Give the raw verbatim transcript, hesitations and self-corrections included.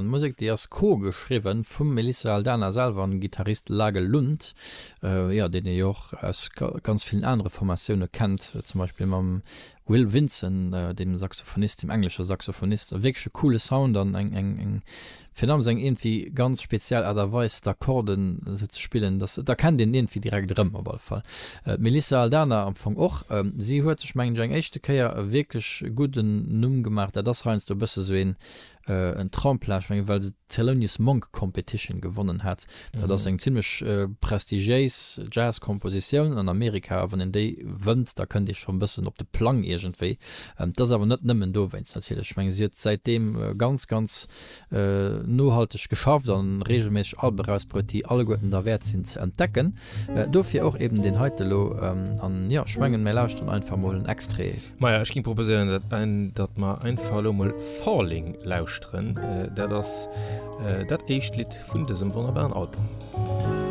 Musek, déi ass co-geschriwwen vum Melissa Aldana selwer an Gittarist Lage Lund, jo, deen ee jo och aus ganz villen anere Formatioune kennt, zum Beispill mam Will Vinson, deem Saxophonist, deem englesche Saxophonist. E wierklech e coole Sound an eng, eng, eng, virun allem eng iergendwéi ganz speziell Aart a Weis d'Akkorden esou ze spillen, dass, et erkennt een iergendwéi direkt erëm op alle Fall. D'Melissa Aldana am Fong och. Si huet sech, mengen ech, eng éischte Kéier e wierklech gudden Numm gemaach. Dat ass heiansdo e bësse sou een, en Tremplin, ech mengen, well se d'Thelonious Monk Competition gewonnen hat. Dat ass eng zimlech prestigiéis Jazz-Kompositioun an Amerika, a wann een déi wënnt, da kënnt ee schonn e bëssen op de Plang iergendwéi. Et ass awer net nëmmen dowéinst natierlech. Ech mengen, si huet säitdeem ganz, ganz nohalteg geschafft a reegelméisseg Albe erausbruet, déi alleguerten derwäert sinn ze entdecken. Dofir och eben deen heite elo. An jo, ech mengen, mir lauschteren einfach mol en Extrait. Maja, ech géing proposéieren, datt mer einfach elo mol Falling lauschteren. Dat ass dat éischt Lidd vun dësem wonnerbaren Album.